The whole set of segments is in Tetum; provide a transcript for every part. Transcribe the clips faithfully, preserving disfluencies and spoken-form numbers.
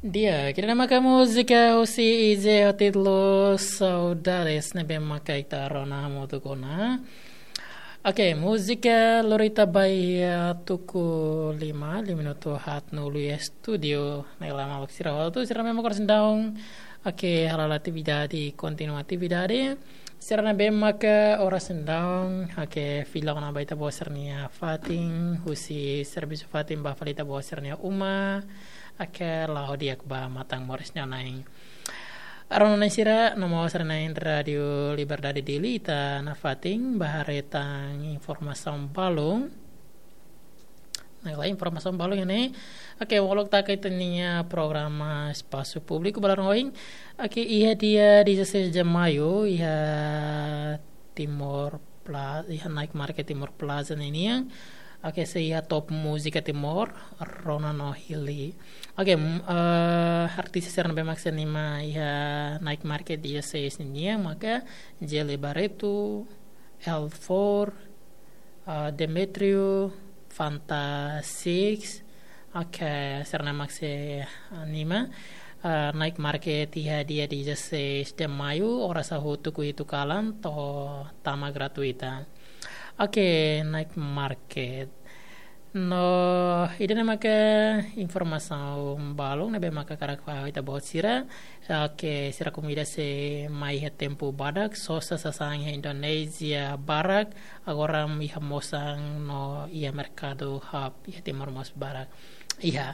Di'ak, ida-ne'e maka múzika husi Ije ho títulu Saudades ne'ebé maka ita rona hamutuk ona. Oke, múzika lori ita ba iha tuku lima, lima minutu haat no ulu iha estúdiu. Ne'e lama waktu sira hotu, sira memang oras daudaun. Oke, hala'o atividade, kontinua atividade. Sira ne'ebé maka oras daudaun, oke, fila ona ba ita-boot sira-nia fatin, husi servisu fatin ba fali ita-boot sira-nia uma, oke, la'o di'ak ba matan moris nia na'in. Rona-na'in sira, no maun sira-na'in Rádiu Liberdade Dili, ita nafatin ba haree tan informasaun balun. Ne'e la'ós informasaun balun iha ne'e. Oke, molok taka ita-nia programa Espasu Públiku ba loron ohin. Oke, iha dia dezasseis de maio, iha Timor Plaza, iha Night Market Timor Plaza ninian. Oke, sei iha top múzika Timor, rona no hili. Oke, m-, eh, artis sira ne'ebé mak sei anima iha Night Market dia seis ninian, maka Jele Barreto, L four, eh, Demetrio, Fanta Six, oke, sira ne'e mak sei anima, eh, Night Market iha dia dezasseis de maio, oras hahutuk ku hitu kalan, to'o tama gratuita. Oke, Night Market. No, ida-ne'e maka informasaun balun ne'ebé maka hakarak fó ba ita-boot sira. Oke, sira komida sei mai iha tempu badak, sosa sasán iha Indonézia barak, agora iha Mosang no iha merkadu hub iha Timor mós barak. Iha.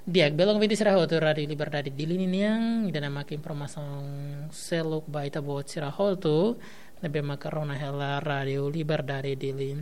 Di'ak, belun ouvinte sira hotu Rádiu Liberdade Dili ninian, ida-ne'e maka informasaun seluk ba ita-boot sira hotu, ne'ebé maka rona hela Rádiu Liberdade Dili.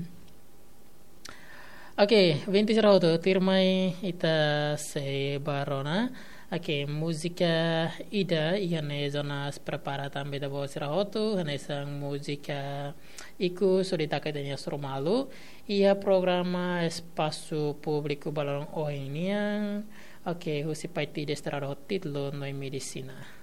Oke, ouvinte sira hotu, tuirmai ita sei ba rona. Oke, múzika ida iha ne'e jonas prepara tan ba ita-boot sira hotu, hanesan múzika ikus hodi taka ita-nia suru malu. Iha programa Espasu Públiku ba loron ohin nian. Oke, husi Paiti Desterrado ho títulu Noi Medisina.